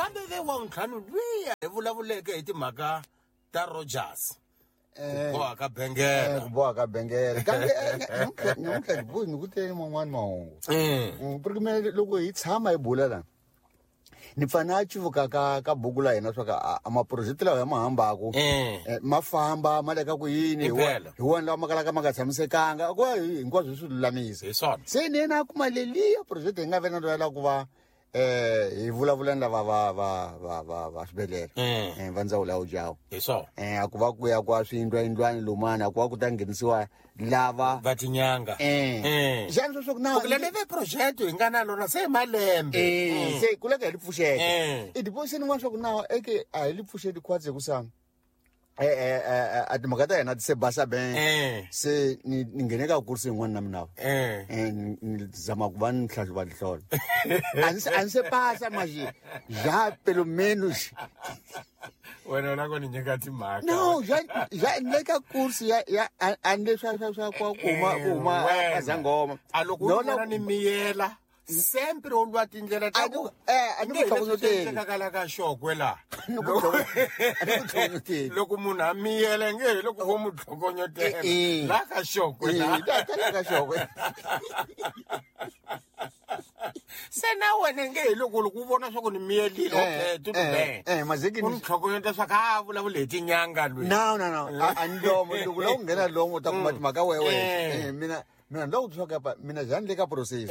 Kambe ve wa ntlhanu luya hi vulavuleke hi timhaka ta Rogers. Ku boha ka bengela. Ku boha ka bengela. Kambe namuntlha ni ku tele man'wani mahungu. Porque mina loko hi tshama hi bula la ni pfa na civuka ka buku la hina swa ka a maproject lawa ya ma hambaku ma famba ma le ka ku yini hi wona lawa ma kalaka ma nga tshamisekanga ku hinkwaswo swi lulamisa. Se ni yena a kuma leliya project hi nga ve na loyi la ku va hi vulavula ni lava va swibedhlele va ndzawulo ya Ujawu. Hi swona. A ku va ku ya kwa swiyindlwayindlwani lumana a ku va ku ta nghenisiwa lava va tinyanga. Xana sweswo ku na ku le ve project hi nga na lona se malembe. Se ku le ka hi li pfuxeta. I deposit n'wana swa ku na eke a hi li pfuxeti khwatsi ku sa a timhaka ta hina ti se basa ben. Se ni nghene ka kursi yin'wana na mina. Ni zama ku va ni hlahluva tinhlolo. A ni se pasa manje já pelo menos. Wena u lava ku ni nyika timhaka. No, já ni le ka kursi ya a ni le swa ku huma a zangoma. A loko u vona ni miyela sempre u lwa tindlela ta ku a ni ku tlhokonyoteli. Ka ka xokwe la. Ni ku tlhokonyoteli. Loko munhu a miyela nge hi loko vo mu tlhokonyotela. La ka xokwe la. La ka xokwe. Se na wena nge hi loko u vona swa ku ni miyelile okay tu be. Mazeki ni tlhokonyota swa ka vulavula hi tinyanga lwe. No. A ni lomo loko la u nghena lomo u ta kuma timhaka wewe. Mina mina ni lava ku twa kapa mina njhani le ka process.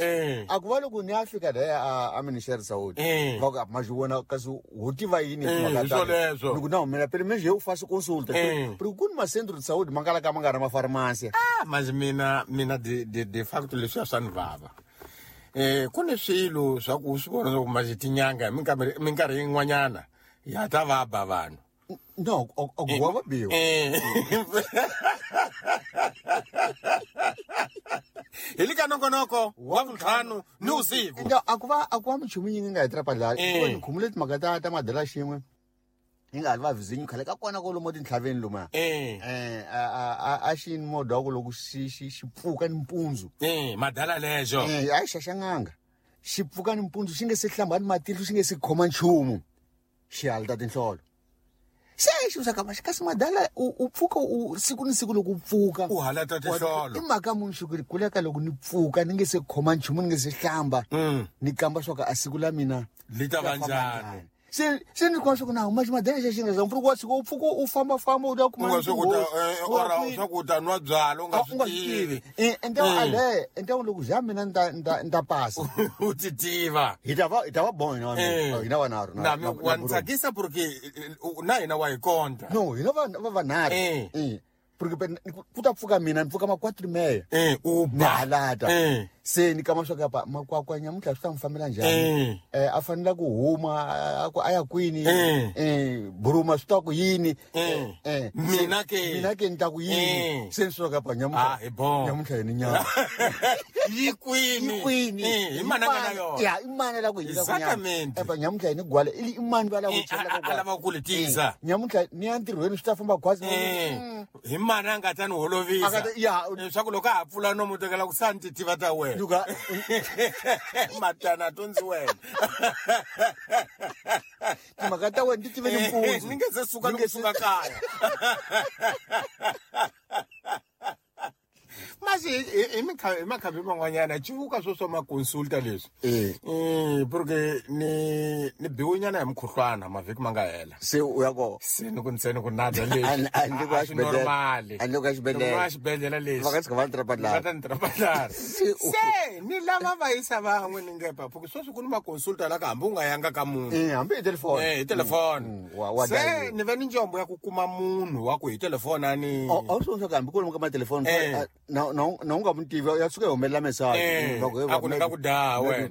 A ku va loko ni ya fika laya a minister Saudi. Va ku ma xi kasi ho tiva yini timhaka ta. Ni ku na mina pele mina u fasi consulta. Pero ku ni macentro de saúde ma nga la ka ma nga ri ma farmacia. Mas mina de facto leswi swa ni vava. Ku ni swilo swa ku swi vona ku ma tinyanga minkarhi yin'wanyana ya ta va ba vanhu. No, o va biwa. Hi le ka nongonoko wa vuntlhanu ni vusiku. No, a ku va minchumu yi nga hi trapa la. Ku ni khumule timhaka ta madela xin'we. Yi nga ha va vizinyo khale ka kona kwalomu tintlhaveni luma. A xi ni modha wa ku loko xi pfuka ni mpundzu. Madala lexo. A xi xaxanganga. Xi pfuka ni mpundzu xi nge se hlamba ni matihlo xi nge se khoma nchumu. Xi halata tinhlolo. Se xi swa ka kasi madala u pfuka u siku ni siku loko u pfuka u halata tinhlolo. I mhaka munhu xi ku kuleka loko ni pfuka ni nge se khoma nchumu ni nge se hlamba ni kamba swa ka a siku la mina li ta va njhani. Se ni kuma swa ku na huma ximadela xa xi nga za mpfhuka wa siku u pfuka u famba famba u ta kuma swa ku ta nwa byala u nga swi tivi. Ende loko ja mina ni ta pasa u ti tiva hi ta va bon hina hina vanharhu na wa ni tsakisa porque na hina wa hi konta. No hina va vanharhu. Porque ku ta pfuka mina ni pfuka ma 4:30 u ba halata. Se ni kama swa kapa makwakwa nyamuntlha swi ta n'wi fambela njhani. A fanele ku huma a ya kwini. Buruma swi ta ku yini. Mina ke ni ta ku yini. Se ni swa kapa nyamuntlha. Nyamuntlha ni nyama. Yi kwini. Hi mana nga na yona. Ya i mana la ku hina ku nyama. Nyamuntlha ni gwala i mani va la ku chela ku lava ku li tisa. Nyamuntlha ni ya ntirhweni swi ta famba khwazi. Hi mana nga ta ni holovisa. Leswaku loko a ha pfula nomu tekela ku santi tiva ta wena. Luka matana tonzi wena. Timhaka ta wena ti tive ni mpundzu. Ni nge se suka ni suka kaya. Masi hi makhambi man'wanyana civuka swo swa maconsulta leswi. Porque ni biwinyana hi mukhuhlwana mavhiki ma nga hela. Se u ya kona. Se ni ku ntsena ku nada leswi. A ni ku xibedhlele. A ni ku xibedhlele. Xibedhlele leswi. Va nga tshika va ni trapa Va ta ni trapa Se ni lava va yisa van'we ni nge pa porque sweswi ku ni maconsulta la ka hambi u nga yanga ka munhu. Hambi hi telefoni. Hi telefoni. Se ni ve ni njombo ya ku kuma munhu wa ku hi telefoni a ni. A wu swi vona hambi ku ri ka matelefoni. Na u nga mu tivi ya suka yi humelela message. A ku ni nga ku daha wena.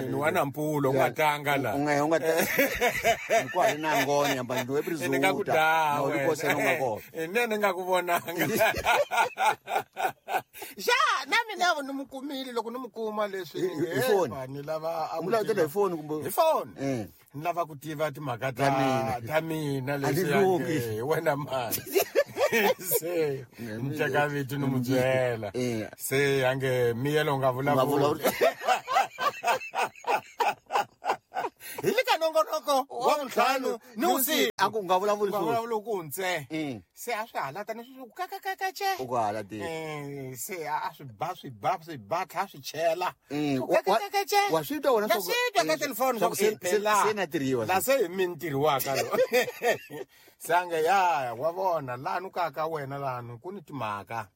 Ni wa na mpulo u nga tanga la. U nga ni kwa na ngoni amba ndo eprizuta. Ni nga ku daha wena. Na u nga kona. Ne ni nga ku vonanga. Ja na mina ni mu kumile loko ni mu kuma leswi hi foni. Ni lava a mu la hi foni kumbe hi foni. Ni lava ku tiva timhaka ta mina leswi wena mani. Se ni teka vito ni mu byela. Se ange miyelo nga vulavuli. Hi le ka nongonoko wa vuntlhanu ni vusiku. A ku nga vulavuli Nga swona. vulavuli ku ntse. Se a swi halata ni swi ku kakakakace. U ku halati. Se a swi ba swi ba swi ba tlha swi chela. Ku kakakakace. Wa swi twa wena Na swa ku- swi twa ka telefoni swa ku se na tirhiwa. La se hi mi ni tirhiwaka lo. Se a nge ya wa vona lanu ka ka wena lanu ku ni timhaka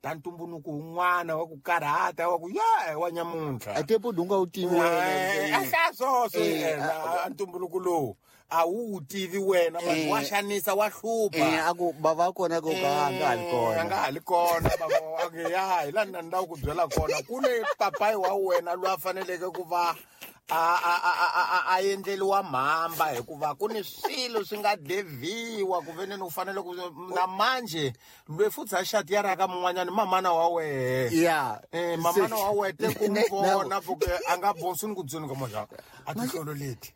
ta ntumbuluko wun'wana wa ku karhata wa ku ya wa nyamuntlha. A te podi u nga wu tivi wena. A hlaya swoswo yena a ntumbuluko lowu a wu wu tivi wena vanhu wa xanisa wa hlupha. A ku bava kona ko ka a nga ha li kona. A nga ha li kona bava a nge ya hi laha ni lava ku byela kona ku ne papayi wa wena loyi a faneleke ku va a endleliwa mhamba hikuva ku ni swilo swi nga deviwa ku ve ni u fanele ku na manje lweyi futhi a xati ya ra ka mun'wanyana mamana wa wehe. Ya. Mamana wa wehe te ku n'wi vona porque a nga bosi ni ku byeni ka moja a tihlolo leti.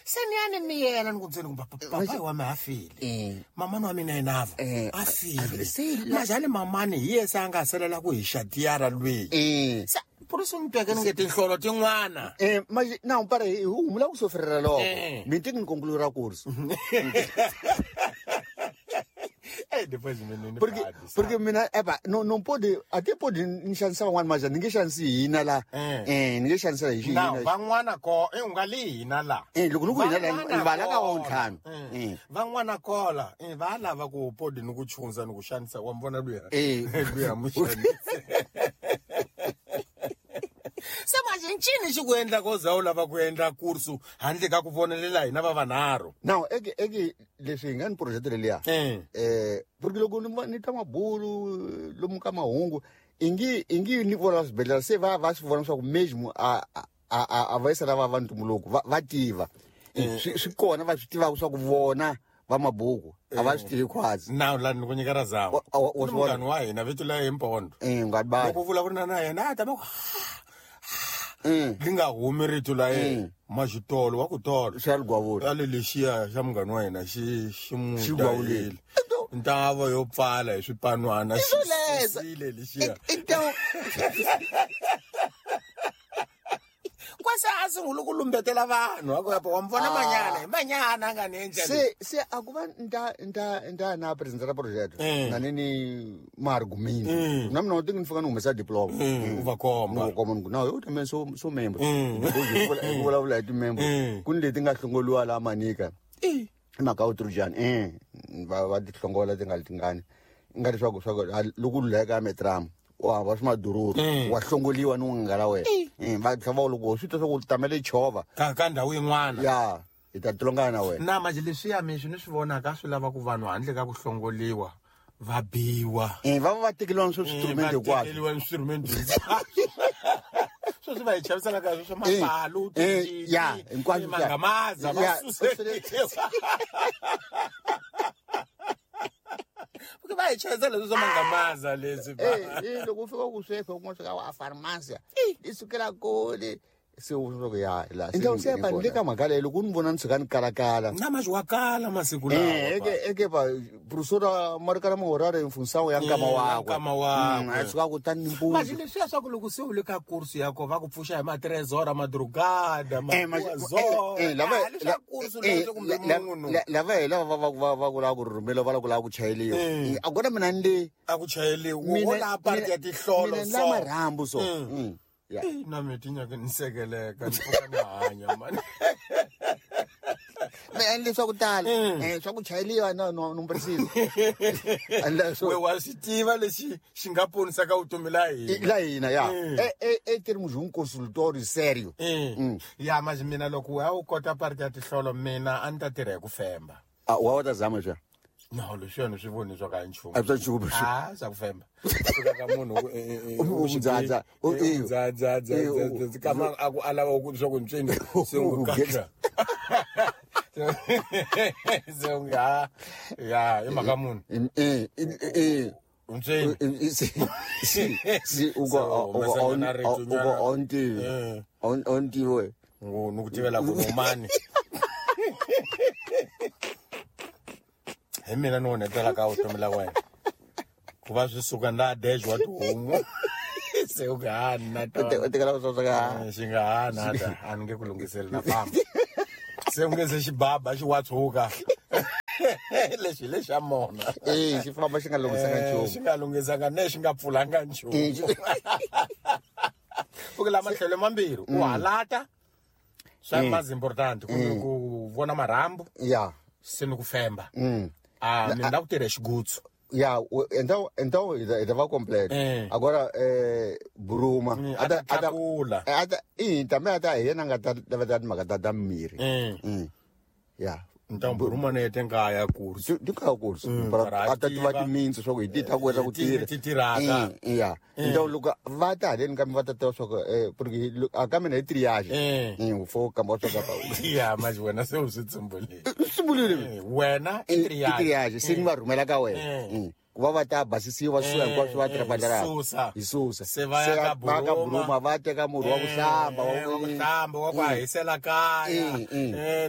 Se ni ya ni miyela ni ku byeni ku papayi wa mina a file. Mamana wa mina yena a file. Majani mamani hi yena se a nga salela ku hi xatiyara lweyi. Se purisi ni tweke ni nge tinhlolo tin'wana. Manje na para hi humula ku sofrera loko. Mi ti ni conclure course. Depois mina ni Porque mina eba no non pode até pode ni xanisa van'wana manje ni nge xanisi hina la. Ni nge xanisa hi hina. Na van'wana ko u nga li hina la. Loko ni ku hina la ni vala ka wa ntlhanu. Van'wana kola va lava ku pode ni ku chunza ni ku xanisa wa vona luya. Luya muxanisa. Se manje ncini xi ku endla ko za u lava ku endla kursu handle ka ku vonelela hina va vanharhu. Now eke leswi hi nga ni project leliya. Porque loko ni twa mabulu lomu ka mahungu ingi ni vona swibedhlele se va va swi vona swa ku mesmo a va yisa lava va ntumbuluko va tiva. Swi kona va swi tivaka swa ku vona va mabuku a va swi tivi khwazi. Now la ni ku nyika ra zama. Munghana wa hina vito la hi Mpondo. Nga ba. Loko vulavula na yena a ta va ku li nga humi rito la yena maxitolo wa ku tolo xa ligwavula ale lexiya xa munghana wa hina xi mudahile ntava yo pfala hi swipanwana xisile lexiya kwase a sungula ku lumbetela vanhu a ku ya wa mvona manyana hi manyana a nga ni endla se a ku va nta na president ra project na ni margumini na mina u ti ni fika ni humesa diploma u va komba ni komba ni ku na yo tambe so member ku vulavula hi ti-member ku ni leti nga hlongoliwa la Manika i mhaka u Trujani va ti hlongola ti nga li tingani nga leswaku loko luleka metram wa va swi madururu wa hlongoliwa ni nga la wena va tlhava loko swi twa swa ku tamele chovha ka ndhawu yin'wana ya hi ta tilongana na wena na manje leswiya mi swi ni swi vonaka swi lava ku vanhu handle ka ku hlongoliwa va biwa va va tekeliwa swo swiinstrument hinkwaswo tekeliwa instrument sweswi va hi chavisela ka swa mapalu ya hinkwaswo mangamaza va suseliwa porque va hi chavisa leswi swa mangamaza leswi loko u fika ku sweka u kuma swa ka pharmacy i sukela kule se u swa ku ya la se ba le ka mhaka leyi loko ni vona ni suka ni kalakala na manje wa kala masiku lawa eke ba professor Marikana Mahorare mfunsawo ya nkama wakwe a suka ku tani mpundzu manje leswiya swa ku loko se u le ka kursu ya ko va ku pfuxa hi matrezora madrugada lava kursu leswi kumbe munhu lava hi lava va ku lava ku rhumela va lava ku lava ku chayeliwa a kona mina ni le a ku chayeliwa wo la part ya tihlolo so mina la marhambu so Yeah. Na mi tinyaka ni sekeleka ni pfuka ni hanya mani. Me endle swa ku tala swa ku chayeliwa no no precise. We wa swi tiva lexi xi nga ponisaka vutomi la hina. La hina ya. E termos um consultório sério. Ya manje mina loko wa u kota part ya tihlolo mina a ni ta tirha hi ku femba. A wa ta zama swa. No, leswiya ni swi voni swa ka nchumu. A swa nchumu. Ah, swa ku femba. Suka ka munhu u dzadza u dzadza kama a ku alava ku swa ku ntswini se u kaka. Se u nga ya i mhaka munhu. Ntswini. Si u go on ti on ti we. Ngo ni ku tivela ku mani. Hi mina ni onhetela ka vutomi la wena ku va swi suka na dejwa tihomu se u nga ha na u tekela swa ka xi nga ha na ta a ni nge ku lunghiseli na famba. Se u nge se xibaba xi wa tshuka. Lexi lexa mona. Xi famba xi nga lunghisanga nchumu. Xi nga lunghisanga ne xi nga pfulanga nchumu. Ku la matlhelo mambirhi u halata swa mas important ku vona marhambu. Ya. Se ni ku femba. Mina la ku tirha xigutsu. Ya, então estava completo. Agora Buruma ata também ata yena nga ta mhaka ta miri. Ya. Então Buruma ne tem kaya curso. Di kaya curso. Para ata tiva timintsu swa ku hi ti ta ku endla ku tirha. Ti tirhaka. Ya. Então loko va ta haleni kambe va ta tiva swa ku porque a ka mina hi triage. Fo kamba swa ka. Ya, mas wena se u swi tsumbulile. Tsumbulile. Wena i triage. I triage se ni va rhumela ka wena. Ku va va ta basisiwa swi hinkwaswo va tirha hi susa. Se va ya ka Buruma va teka murhi wa ku hlamba wa ku hisela kaya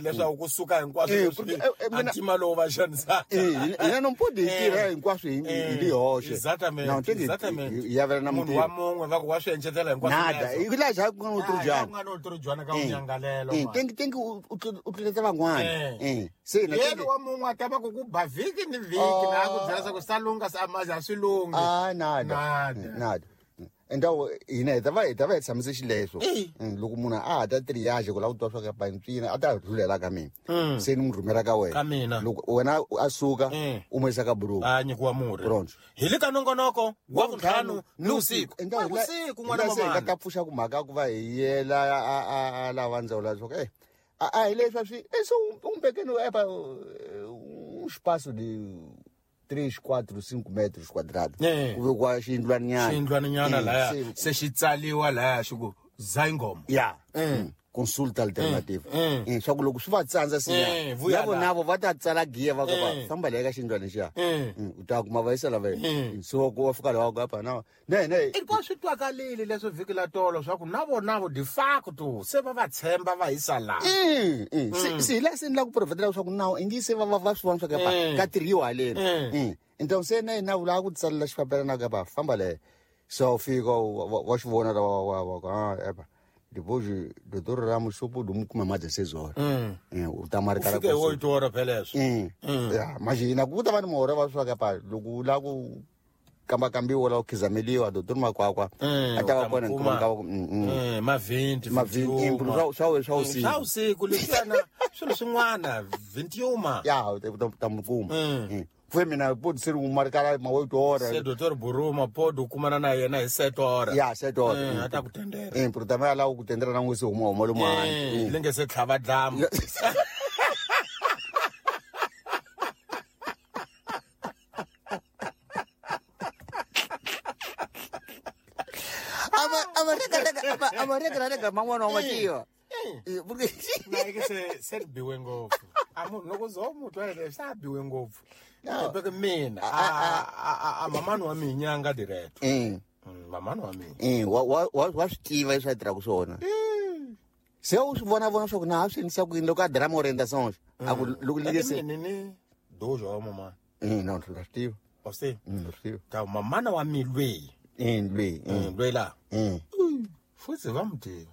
leswaku kusuka hinkwaswo antima lowu va xanisaka. Hina no mpodi hi tirha hinkwaswo hi li hoxe. Exactamente. Ya vela na munhu wa mun'we va ku wa swi encetela hinkwaswo. Nada, hi la xa ku nga utrujana. Ku nga utrujana ka unyangalelo. Tenki u tluletela van'wana. Se na yena wa mun'we a ta va ku ku ba vhiki ni vhiki na ku byela swa ku sa lunga sa maza swi lungi. Nada. Nada. Então hina hi ta va hi tshamise xileswo. Loko munhu a ha ta triage ku lava ku twa swa ka pantswina a ta rhulela ka mina. Se ni n'wi rhumela ka wena. Ka mina. Loko wena a suka u n'wi yisa ka Buruma. A nyikiwa murhi. Pronto. Hi le ka nongonoko wa vuntlhanu ni vusiku. Então vusiku n'wana wa mama. Se hi ta pfuxa ku mhaka ku va hi yela a lava ndzawulo swa ku a hi leswi swi so um pequeno um espaço de 3, 4, 5 metros quadrados. Ku vekiwa xiyindlwaninyana. Xiyindlwaninyana laya se xi tsaliwa laya xi ku Zayingoma. Ya. Consulta alternativa. Swa ku loko swi va tsandza sinya. Navo va ta tsala giya va ka famba leya ka xiyindlwana lexiya. U ta kuma va yisa lava. So ku va fika laha ka na. Ne. I swi twakalile leswi vhiki la tolo swa ku navo de facto se va va tshemba va yisa laha. Se hi laha se ni la ku profetela swa ku nawu i ngi se va va swi vona swa ka ka tirhiwa haleni. Então se na hina vula ku tsalela xipapela na ka va famba leya. So fika wa xi vona wa ka epa. Depois doutor Ramos sopo do kuma mais 16 horas. O ta marcar a 8 horas beleza. Ya, imagina ku ta va ni mora va swa ka pa loko la ku kamba kambiwa la ku khizameliwa doutor Makwakwa a ta va kona kuma ka ma 20 ma 20 swa usiku. Swa usiku leswana swilo swin'wana 21. Ya, ta mukuma. Foi mina pode ser um marcar uma 8 horas. Se doutor Buruma pode kumana na yena hi 7 horas. Ya, 7 horas. Ata ku tendera. Porque também lá o tendera não se uma uma uma. Linge se tlhava dlamu. Ama reka man'wana wa mativa. Porque na ke se ri biwe ngopfu. A munhu loko zo mu twa leswi sa biwe ngopfu. Porque mina a mamani wa mina nga direct. Mamani wa mina. Wa swi tiva leswi a tirhaka swona. Se u swi vona swa ku na swi endlisa ku yini loko a drama orientação. A ku loko li se ni dojo wa mama. No, swi tiva. Wa swi tiva. Swi tiva. Ta mamana wa mi lweyi. Lweyi. Lweyi la. Futhi va mu tiva.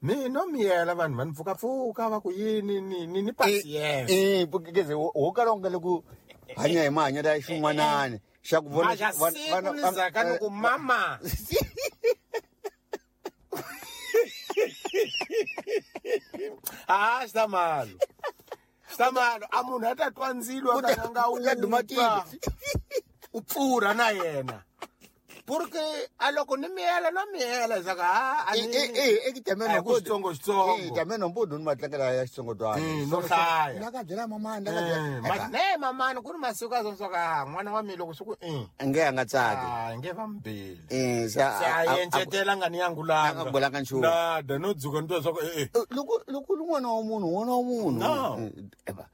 Mina miyela vanhu va ni pfukapfuka va ku yini ni patience. Porque quer dizer, o cara nga le ku hanya hi mahanyelo ya xin'wanani xa ku vona vana zaka ni ku mama. Xtamalo. Xtamalo a munhu a ta twa ndzilo a ka nga u dumatile. U pfurha na yena. Porque a loko ni miyela no miyela zaka a e também não pode xitsongo também não pode numa tlangela ya xitsongotwana no hlaya la ka byela mamani la ka byela ma ne mamani ku ni masiku a swa n'wana wa mina loko swi ku nge a nga tsaki nge va mbili sa a encetela nga ni yangulanga nga bolanga nchumu nada no dzuka ni twa swa ku loko loko n'wana wa munhu n'wana wa munhu no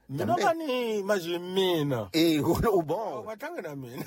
mina va ni imagine mina u bon va tlanga na mina.